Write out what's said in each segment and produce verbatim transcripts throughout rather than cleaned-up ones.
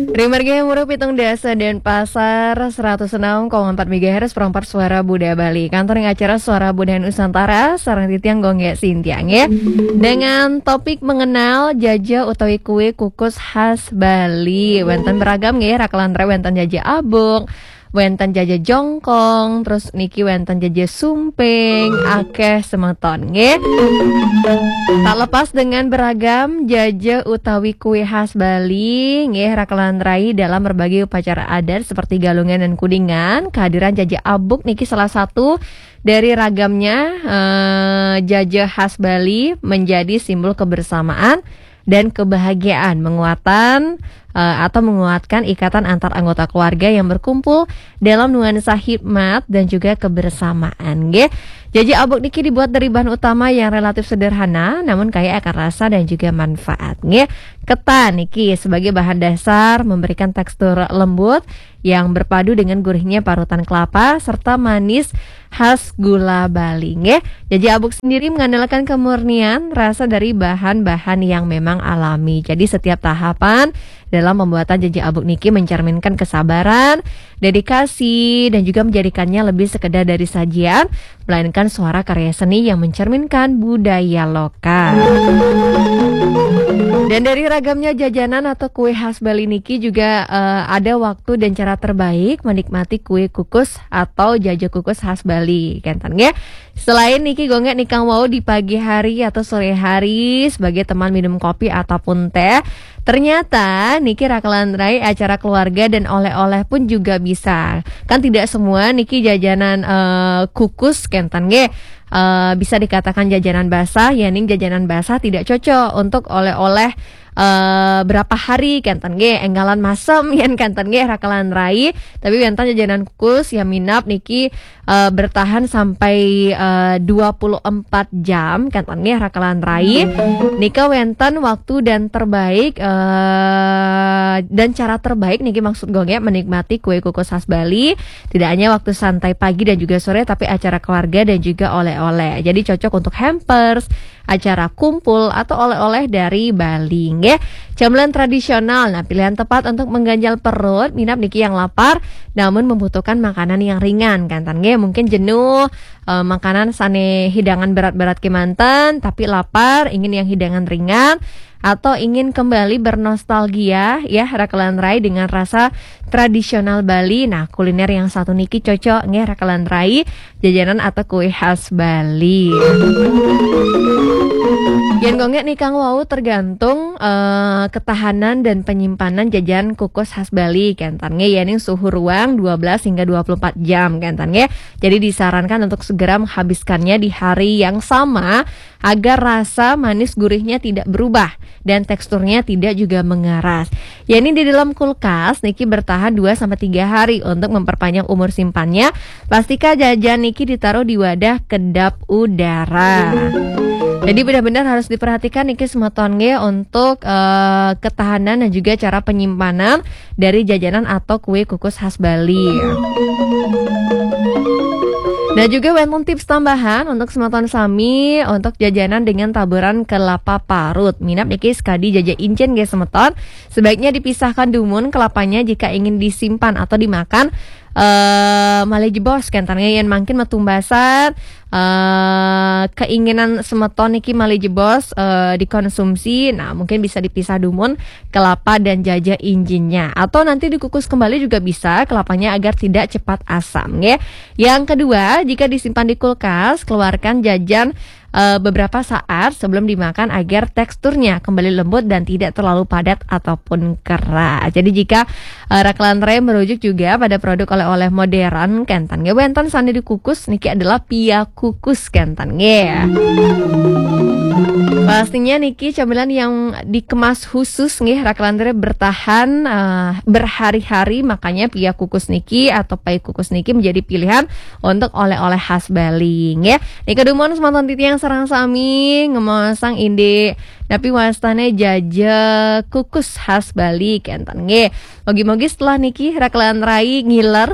Ring margi Muru pitung dasa Denpasar, seratus enam koma empat megahertz, perempat suara Buda Bali. Kantoring acara Suara Buda Nusantara, sareng titiang Gung Gé Sintiang, ya. Dengan topik mengenal jaja utawi kue kukus khas Bali. Wénten beragam, nggih, rakelan ré, wénten jaja abuk, wénten jaja jongkong, terus niki wénten jaja sumping, akéh semeton, nggih. Tak lepas dengan beragam jaja utawi kue khas Bali, nggih, rakelan rai, dalam berbagai upacara adat seperti Galungan dan Kuningan, kehadiran jaja abuk niki salah satu dari ragamnya, eh, jaja khas Bali menjadi simbol kebersamaan dan kebahagiaan, menguatan, eh, atau menguatkan ikatan antar anggota keluarga yang berkumpul dalam nuansa hikmat dan juga kebersamaan, nggih. Jaja abuk niki dibuat dari bahan utama yang relatif sederhana, namun kaya akan rasa dan juga manfaat, nggih. Ketan niki sebagai bahan dasar memberikan tekstur lembut yang berpadu dengan gurihnya parutan kelapa serta manis khas gula Bali, nggih. Jaja abuk sendiri mengandalkan kemurnian rasa dari bahan-bahan yang memang alami. Jadi, setiap tahapan dalam pembuatan jaja abuk niki mencerminkan kesabaran, dedikasi, dan juga menjadikannya lebih sekedar dari sajian, melainkan suara karya seni yang mencerminkan budaya lokal. Dan dari ragamnya jajanan atau kue khas Bali niki juga, eh, ada waktu dan cara terbaik menikmati kue kukus atau jaja kukus khas Bali, kénten, nggih. Selain niki, Gung Gé, nikang wau di pagi hari atau sore hari sebagai teman minum kopi ataupun teh, ternyata niki rakelan rai, acara keluarga dan oleh-oleh pun juga bisa. Kan tidak semua niki jajanan, eh, kukus, kénten, nggih, eh, bisa dikatakan jajanan basah, yéning jajanan basah tidak cocok untuk oleh-oleh, eh, berapa hari, kénten, nggih, énggalan masem yén, kénten, nggih, rakelan rai. Tapi wénten jajanan kukus yang minab niki, eh, bertahan sampai, eh, dua puluh empat jam, kénten, nggih, rakelan rai. Nika wénten waktu dan terbaik, eh, dan cara terbaik niki, maksud Gung Gé, menikmati kue kukus khas Bali. Tidak hanya waktu santai pagi dan juga sore, tapi acara keluarga dan juga oleh-oleh. Jadi, cocok untuk hampers, acara kumpul, atau oleh-oleh dari Bali, nggih. Camilan tradisional, nah, pilihan tepat untuk mengganjal perut minab niki yang lapar, namun membutuhkan makanan yang ringan, kénten, nggih. Mungkin jenuh, eh, makanan sané hidangan berat-berat kémanten, tapi lapar, ingin yang hidangan ringan, atau ingin kembali bernostalgia, ya, rakelan rai, dengan rasa tradisional Bali. Nah, kuliner yang satu niki cocok, nggih, rakelan rai, jajanan atau kue khas Bali. Yén Gung Gé nikang wau tergantung, eh, ketahanan dan penyimpanan jajan kukus khas Bali, kénten, nggih, yéning suhu ruang dua belas hingga dua puluh empat jam, kénten, nggih. Jadi, disarankan untuk segera menghabiskannya di hari yang sama agar rasa manis gurihnya tidak berubah dan teksturnya tidak juga mengeras. Yéning di dalam kulkas niki bertahan dua sampai tiga hari untuk memperpanjang umur simpannya. Pastika jajan niki ditaruh di wadah kedap udara. Jadi, benar-benar harus diperhatikan niki, semeton, nggih, untuk, eh, ketahanan dan juga cara penyimpanan dari jajanan atau kue kukus khas Bali. Nah, juga wénten tips tambahan untuk semeton sami untuk jajanan dengan taburan kelapa parut. Minab niki sekadi jaja incin, nggih, semeton. Sebaiknya dipisahkan dumun kelapanya jika ingin disimpan atau dimakan, eh, malih jebos, kénten, nggih, yén mangkin matumbasan, eh, keinginan semeton niki malih jebos, eh, dikonsumsi. Nah, mungkin bisa dipisah dumun kelapa dan jaja incinnya. Atau nanti dikukus kembali juga bisa kelapanya agar tidak cepat asam, nggih. Yang kedua, jika disimpan di kulkas, keluarkan jajan, eh, beberapa saat sebelum dimakan agar teksturnya kembali lembut dan tidak terlalu padat ataupun keras. Jadi, jika, eh, rakelan rai merujuk juga pada produk oleh-oleh modern, kénten, nggih, wénten sané dikukus niki adalah pia kukus, kénten, nggih. Pastinya niki camilan yang dikemas khusus, nggih, rakelan rai, bertahan, eh, berhari-hari, makanya pia kukus niki atau pai kukus niki menjadi pilihan untuk oleh-oleh khas Bali, nggih. Nika dumun semeton titiang sareng sami ngemaosang indik napi wastane jaja kukus khas Bali kenten nggih. Mogi-mogi setelah niki rakelan rai ngiler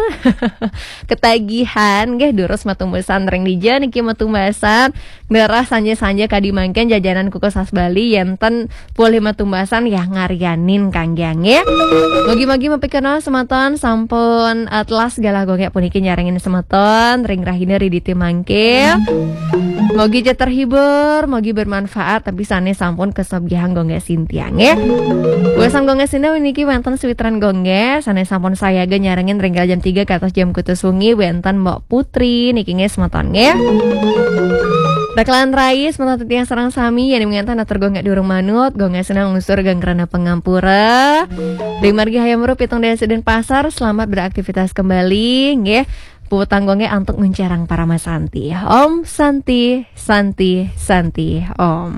ketagihan nggih, durus matumbasan ring dija niki matumbasan ngerah sanja-sanja kadi mangkin jajanan kukus khas Bali yenten polih matumbasan ya ngaryanin kangge nggih. Mogi-mogi mapikenoh semeton sampun atlas galah gongek puniki nyarengin semeton ring rahina riditi mangke. Mogi ja terhibur, mogi bermanfaat, tapi sane sampun kesugihan gongek sintiang nggih. Wesam gongek sintiang niki wenten sawitran gongek sane sampun sayaga nyarengin ring jam tiga kantos jam kutus wengi wenten Mbok Putri niki nggih semeton nggih. Rakelan rai semeton titiang sareng sami yen mangkin atur gongek durung manut, gongek sintiang ngusur ganggrana pangampura. Ring margi Hayam Wuruk pitung dasa Denpasar, selamat beraktivitas kembali nggih. Puputang gongek antuk nguncarang parama santi. Om Santi, Santi, Santi, Om.